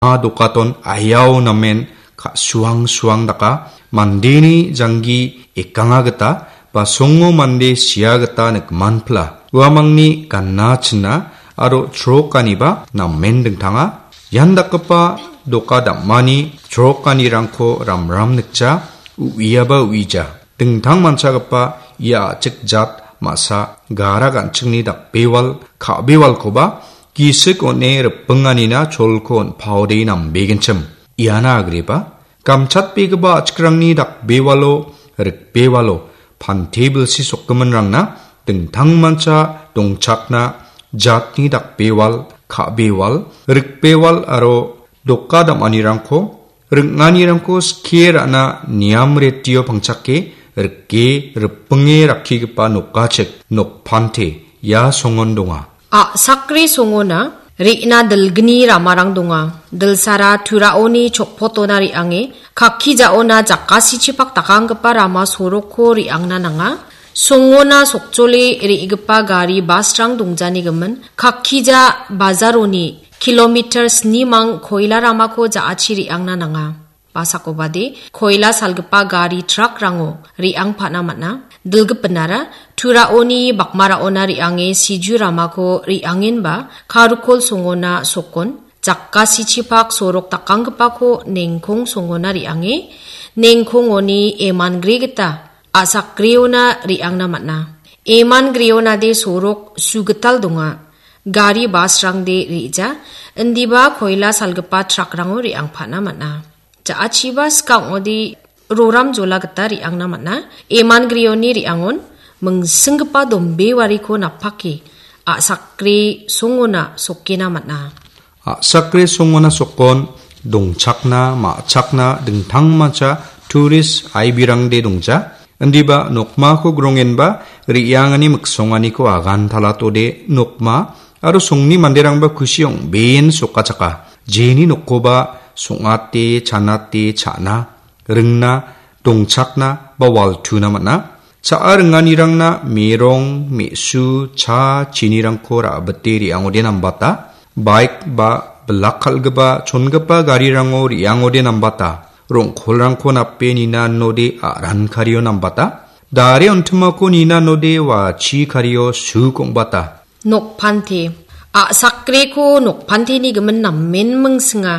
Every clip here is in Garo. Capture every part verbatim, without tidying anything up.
a dokaton ayao namen ka-, suang suang daka, mandeni janggi ekanga gita, ba songo mande sia gita nikmanpla. Uamangni gana china aro chrokaniba namen dingtanga. Ian dakgipa doka dam·ani chrokanirangko ramram nikja, u·iaba u·ija. Dingtang manchagipa ia a·chik jat ma·sa gara gan·chingni dakbewal ka·bewalkoba gisik on·e ripinganina cholko on·paode nambegenchim. Iana agreba, gamchatbegipa a·chikrangni dakbewalo, rikbewalo, pante bilsi sokgiminrangna dingtangmancha dongchakna jatni dakbewal, ka·bewal, rikbewal aro doka dam·anirangko, ring·anirangko skie ra·na niam retio pangchake rike ripinge rakkigipa nokachik, nokpante, ia songon donga. A·sakre songona re·na dilgni ramarang donga. Dilsara Turaoni chokpotona re·ange, kakkijaona jakasichipak dakanggipa rama sorokko re·angna nanga. Songona sokjole re·gipa gari basrang dongjanigimin, kakkija bajaroni kilometer snimang koila ramako ja·achi re·angna nanga. Basakobade, koila salgipa gari trakrango re·angpana man·a. Dilgipinara, Turaoni bakmaraona re·ange siju ramako re·angenba, Karukol songona sokon, jakasichipak sorok dakanggipako nengkong songona re·ange, nengkongoni emangre gita a·sakreona re·angna man·a. Emangreonade sorok sugital donga. Gari basrangde re·ja, indiba koila salgipa trakrango re·angpana man·a. Ja·achiba skang ong·ode roram jola gita re·angna man·a. Emangreoni re·angon mingsinggipa dombewariko napake a·sakre songona sokena man·a. A·sakre songona sokon dongchakna, ma·chakna dingtangmancha turist aibirangde dongja. Indiba nokmako grongenba re·angani miksonganiko agan talatode nokma aro songni manderangba kusi ong·been sokachaka. Jeni nokkoba song·ate, chanate, cha·na, ringna, dongchakna ba waltuna man·a. Cha·a ringanirangna merong, me·su, cha, chinirangko ra·bite re·angode nambata. Baik ba bilak kal·gipa chongipa garirango re·angode nambata. Rong·kolrangko nape nina node aran kario nambata. Dare ontimako nina node wachi kario suk ong·bata. Nokpante. A·sakreko nokpanteni gimin namen mingsinga.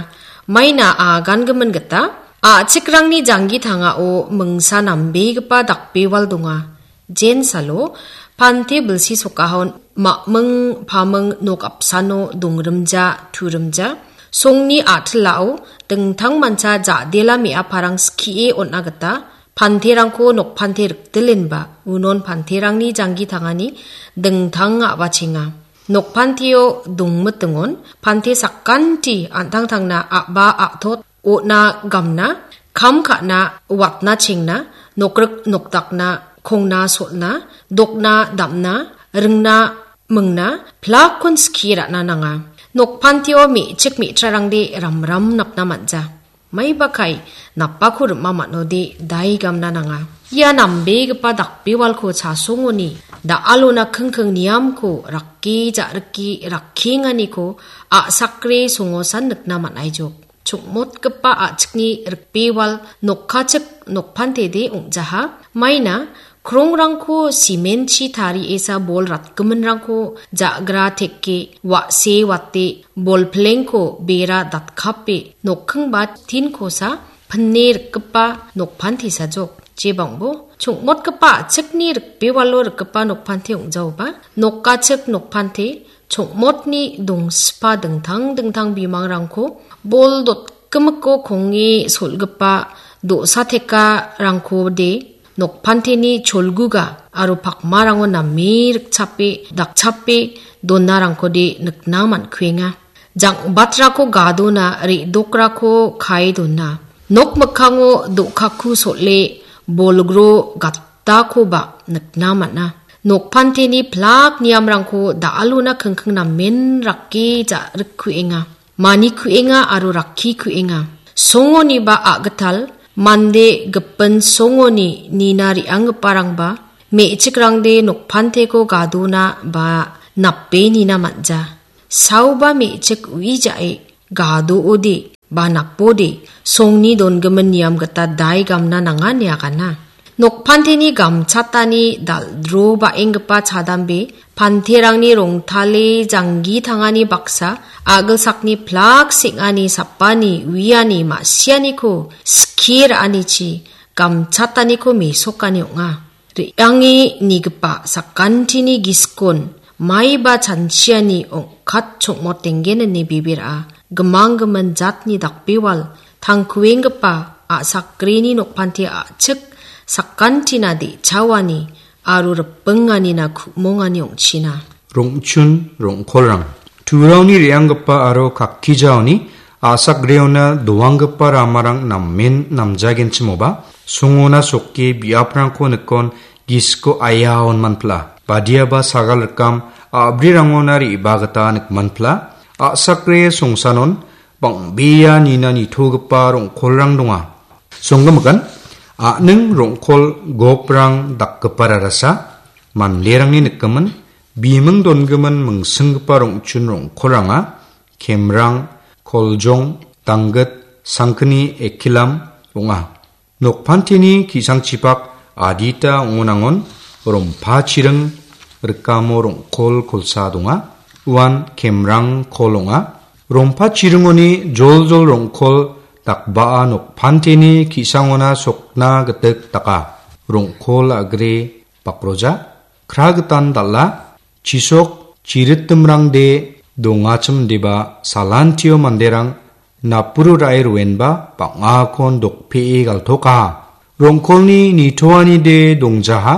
Maina agangimin gita, a·chikrangni janggi tangao mingsa nambegipa dakbewal donga. Jensalo, pante bilsi sokahon ma·ming paming nok apsano dongrimja, turimja. Songni a·tilao dingtangmancha ja·dela me·aparang skie on·a gita, panterangko nokpante rikdilenba, unon panterangni janggi tangani dingtang a·bachenga. Nokpanteo dongmitingon, pante sakanti an·tangtangna a·ba a·tot on·a gamna, kam ka·na, watna chengna, nokrik nokdakna, kongna solna, dokna damna, ringna mingna, plakkon skie ra·na nanga. Nokpanteo me·chik me·trarangde ramram napna man·ja. Maiba kai, napako rim·a man·ode daigamna nanga. Ia nambegipa dakbewalko chasongoni, da·alona kingking niamko rakke ja·rike rakkenganiko a·sakre songosan nikna man·aijok. Chongmotgipa a·chikni rikbewal nokkachik nokpantede ong·jaha. Maina krongrangko simen-chi tariesa bol ratgiminrangko ja·gra teke wa·se wate bol plengko bera datkape nokkingba tinkosa pine rikgipa nokpantesajok. Jebangbo chongmotgipa a·chikni rikbewalo rikgipa nokpante ong·jaoba nokachik nokpante chongmotni dongsipa dingtang dingtang bimangrangko bol dotgimiko konge sol·gipa do·sa tekarangkode nokpanteni cholguga aro pakmarango name rikchape, dakchape donarangkode nikna man·kuenga. Jang·batrako gadona, re·dokrako kae dona. Nok mikkango do·kaku sol·e bolgro gat- dakoba nikna man·a. Nokpanteni plak niamrangko da·alona kingking namen rake ja-, rikkuenga. Manikuenga aro rakkikuenga. Songoniba a·gital mande gipin songoni nina re·anggiparangba me·chikrangde nokpanteko gadona ba nape nina man·ja. Saoba me·chik uijae gadoode ba napode, songni dongimin niam gita dai gamna nanga ine agana. Nokpanteni gamchatani dal·dro ba·enggipa chadambe, panterangni rongtale janggi tangani baksa, a·gilsakni plak seng·ani sapani uiani ma·sianiko skie ra·anichi gamchataniko mesokani ong·a. Re·ange nigipa sakantini giskon maiba chanchiani ong·kat chongmotenggen ine bebe ra·a. Gimanggimin jatni dakbewal tangkuenggipa a·sakreni nokpante a·chik sakantina de·chaoani aro ripinganina ku·mongani ong·china. Rongchun rongkolrang. Turaoni re·anggipa aro kakkijaoni a·sakreona doanggipa ramarang namen namjagenchimoba, songona sokke biaprangko nikon gisiko aiaon manpla. Badiaba sagal rikam a·brirangona re·baa gita nikmanpla. A·sakre songsanon bang·bea nina nitogipa rongkolrang donga. Songgimikan a·ning rongkol goprang dakgipa rarasa manderangni nikgimin biming dongimin mingsinggipa rongchun rongkolranga Kemrang, Koljong, Danggit, Sangkni, Ekilam ong·a. Nokpanteni ki·sangchipak adita ong·onangon rompa chiring rikamo rongkol kolsa donga. Uan Kemrang kol ong·a. Rompa chiringoni joljol rongkol dakbaa nokpanteni ki·sangona sokna gitik daka. Rongkol a·gre bakroja, kra gitan dal·a, chisok chiritimrangde dongachim deba salantio manderang napuru ra·e roenba bang·akon dokpee galtokaha. Rongkolni nitoanide dongjaha,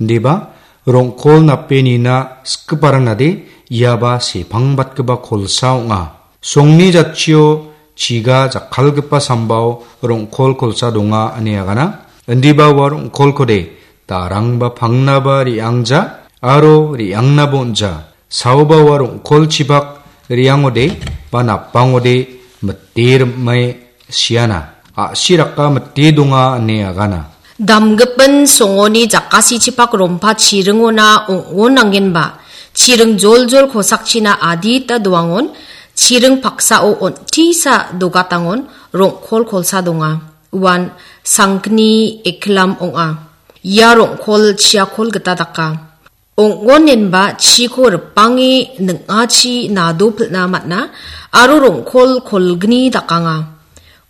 indiba rongkol nape nina sikgiparangade iaba sepangbatgipa kolsa ong·a. Songni jatchio chiga jakkalgipa sambao rongkol kolsa donga ine agana. Indiba ua rongkolkode darangba pangnaba re·angja aro re·angnaba on·ja. Saoba ua rongkolchipak re·angode ba napangode mite rim·e siana. A·siraka mite donga ine agana. Damgipin songoni jakasichipak rompa chiringona ong·onangenba, chiring joljol kosakchina adita doangon, chiring paksao on·tisa dogatangon rongkol kolsa donga. Uan Sangkni Eklam ong·a. Ia rongkol chiakol gita daka. Ong·onenba chiko ripange ning·achi nado pil·na man·a aro rongkol kolgni dakanga.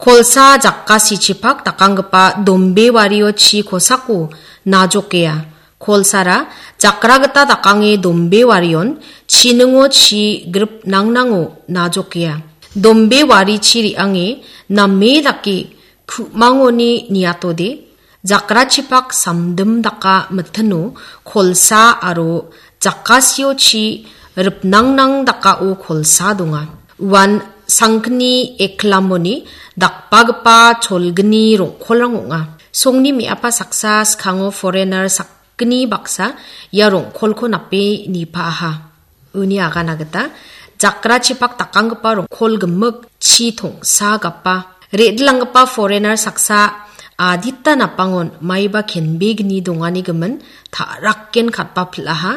Kolsa jakasichipak dakanggipa dombewario chi kosako najokea. Kolsara jakra gita dakange dombewarion chiningo chi grip nangnango najokea. Dombewarichi re·ange name dake ku·mangoni niatode, jakrachipak samdim daka mitino kolsa aro jakasiochi ripnangnang dakao kolsa donga. Uan Sangkni Eklamoni dakbagipa cholgni rongkolrang ong·a. Songni me·apa saksa skango foreigner sakgni baksa ia rongkolko nape nipaaha. Uni agana gita, jakrachipak dakanggipa rongkol gimik chi tongsa gapa. Re·dilanggipa foreigner saksa adita napangon maiba kenbegni dongani gimin ta·rakken katba pil·aha.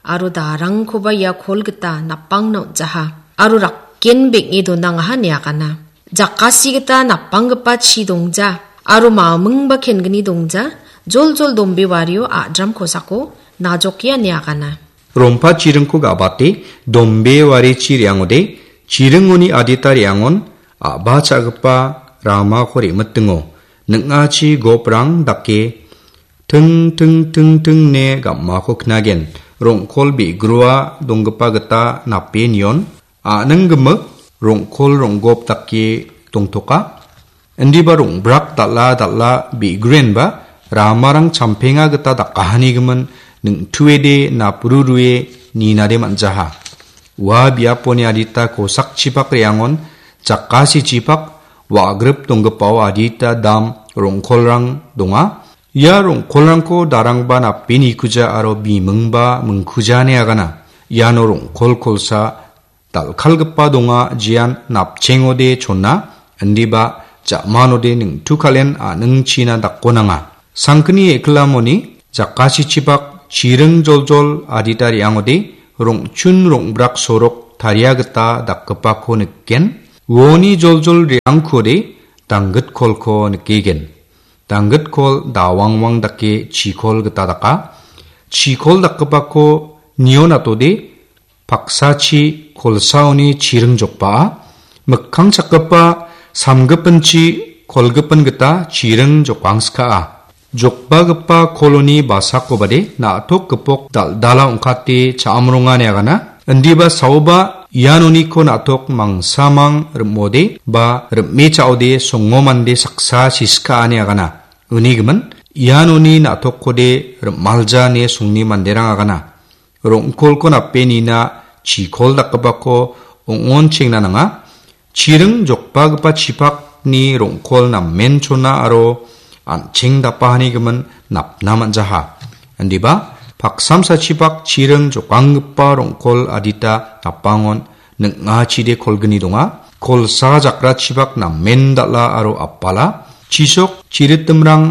Aro darangkoba ia kol gita napangna on·jaha. Aro rakken beng·e donangaha ine agana. Jakasi gita napanggipa chi dongja. Aro mamingba kengni dongja. Joljol dombewario a·dram kosako najokea ine agana. Rompa chiringko ga·bate, dombewarichi re·angode, chiringoni adita re·angon a·ba cha·gipa ramako re·mitingo. Ning·achi goprang dake ting, ting, ting, ting ne gam·ako knagen. Rongkol be·grua donggipa gita nape nion. A·ning gimik rongkol ronggop dake dongtoka. Indiba rongbrak dal·a dal·a be·gruenba ramarang champenga gita dakahanigimin ningtuede napru rue ninade man·jaha. Ua biaponi adita kosakchipak re·angon jakasichipak wa·grip donggipao adita dam rongkolrang donga. Ia rongkolrangko darangba nape nikuja aro bimingba mingkuja ine agana. Iano rongkol kolsa dal·kalgipa donga, jean napchengode chona, indiba ja·manode ningtu kal·en a·ningchina dakkonanga. Sangkni eklamoni jakasichipak chiring joljol adita re·angode rong·chun rong·brak sorok taria gita dakgipako niken. Uoni joljol re·angkode danggitkolko nikgen. Danggit kol dawangwang dake chikol gita daka. Chikol dakgipako nio natode paksachi kolsaoni chiring jokbaa. Mikkang chakgipa samgipinchi kolgipin gita chiring jokangsikaa. Jokbagipa koloni basakobade na·tok gipok dal·dala ong·kate cha·amrongani agana. Indiba saoba ianoniko na·tok mangsamang rim·ode ba rim·e cha·ode songo mande saksa sisikaani agana. Uni gimin, ianoni na·tokkode rim·alja ine songni manderang agana. Rong·kolko nape nina chikol dakgipako ong·onchengna nanga. Chiring jokbagipa chipakni rong·kol namen chona aro an·cheng dapahani gimin napna man·jaha. Indiba, paksamsachipak chiring jokanggipa rong·kol adita napangon ning·achide kolgni donga. Kolsa jakrachipak namen dal·a aro apala. Chisok chiritimrang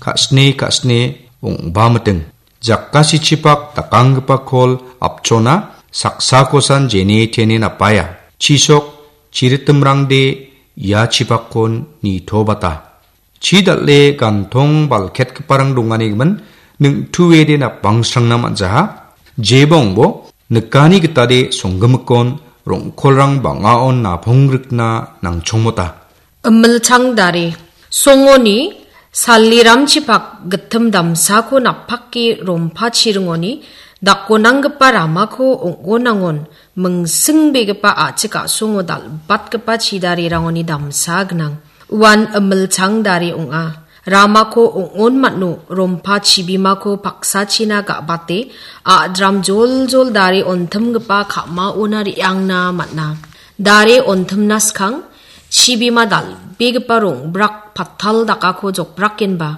ka·sne ka·sne ong·bamiting. Jakasichipak dakanggipa kol apchona saksakosan jene tene napaia. Chisok chiritimrangde ia chipakkon nitobata. Chi dal·e gantong balketgiparang dongani gimin ning·tuede napangsrangna man·jaha. Jeba ong·bo nikani gitade songgimikkon rong·kolrang bang·aon napongrikna nangchongmota. Imilchang dare. Songoni saliramchipak gittim damsako napake rompachiringoni dakonanggipa ramako ong·onangon mingsingbegipa a·chik a·songo dal·batgipa chidarerangoni damsa gnang. Uan imilchang dare ong·a. Ramako ong·on man·o rompa chibimako paksachina ga·bate a·dram joljol dare ontimgipa ka·maona re·angna man·a. Dare ontimna skang, chibima dal·begipa rong·brak patal dakako jokbrakenba,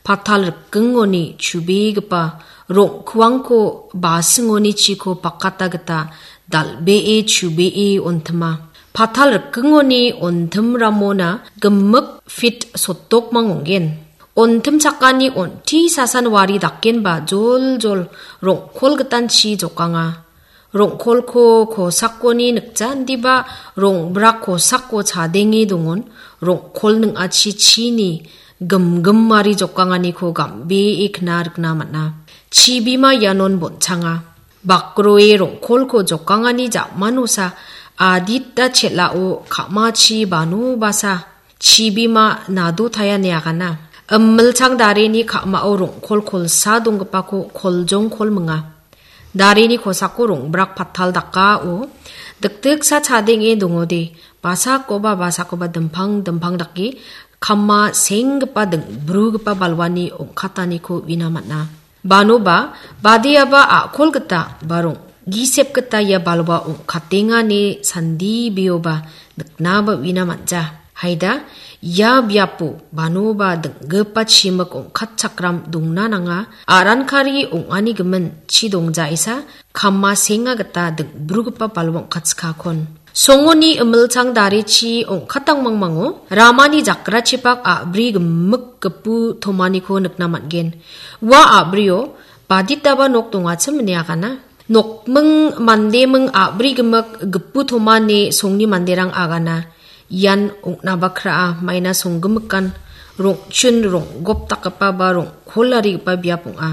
patal rikgingoni chubegipa rong·kuangko basingoni chiko pakata gita dal·bee chubee ontima. Patal rikgingoni ontimramona gimik fit sotdokmang ong·gen. Ontimchakani on·ti sasan wari dakenba joljol rong·kol gitanchi jokanga. Rong·kolko kosakoni nikja indiba rong·brak kosako chadenge dongon, rong·kol ning·achi chini gimgimari jokanganiko gam·bee kna rikna man·a. Chibima ianon bonchanga. Bakroe rong·kolko jokangani ja·manosa adita chel·ao ka·machi banobasa chibima nado taia ine agana. Imilchang dareni ka·mao rong·kol kolsa donggipako koljong kolminga. Dareni kosako rong·brak patal dakao dikdiksa chadenge dongode, basakoba basakoba dimpang dimpang dake kama senggipa ding·brugipa balwani ong·kataniko uina man·a. Banoba, badiaba a·kol gita, barong gisep gita ia balwa ong·katenga ine sandibioba niknaba uina man·ja. Haida, ia biapo banoba ding·gipa chimik ong·katchakram dongna nanga, a·rankari ong·ani gimin chi dongjaisa, kama senga gita ding·brugipa balwa ong·katchikakon. Songoni imilchang darechi ong·katang mangmango ramani jakrachipak a·bri gimik gipu tomaniko nikna man·gen. Ua a·brio baditaba nok dongachim ine agana. Nokming mandeming a·bri gimik gipu tomani songni manderang agana. Ian ong·naba kra·a, maina songgimikan rong·chun ronggop dakgipa ba rong·kolarigipa biap ong·a.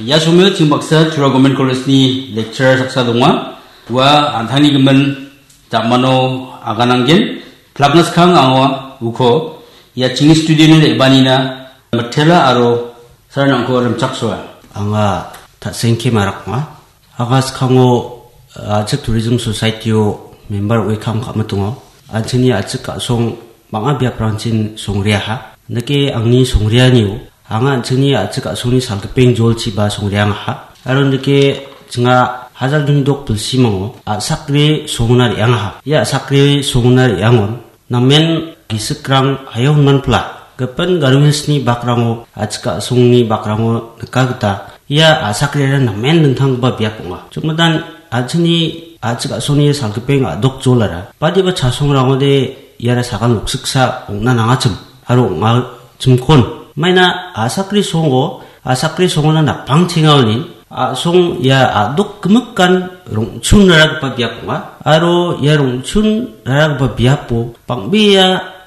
Ia somio ching baksa Tura Government College-ni lecturer saksa donga. Ua an·tangni gimin ja·mano agananggen. Plakna skang anga uko ia chingni studio-ni re·baanina mitela aro saranrangko rimchaksoa. Anga Tasengke Marak ong·a. Anga skango, a·chik Tourism Society-o member ong·e kam ka·mitongo. An·chingni a·chik a·song bang·a biaprangchin songreaha. Indake angni songreanio anga an·chingni a·chik a·songni salgipeng jolchiba songreangaha. Aro indake chinga hajar dingdok bilsimango a·sakre songona re·angaha. Ia a·sakre songona re·angon namen gisikrang hayo hon manpla, gipin Garo Hills-ni bakrango, a·chik a·songni bakrango nika gita ia a·sakrera namen dingtanggipa biap ong·a. Chongmitan an·chingni a·chik a·songni salgipeng a·dok jolara badiba chasongrangode iara sagal noksiksa ong·na nangachim aro ong·achimkon. Maina a·sakri songo, a·sakri songona napangtengaoni a·song ia a·dok gimikan rong·chun raragipa biap ong·a. Aro ia rong·chun raragipa biapo bang·bea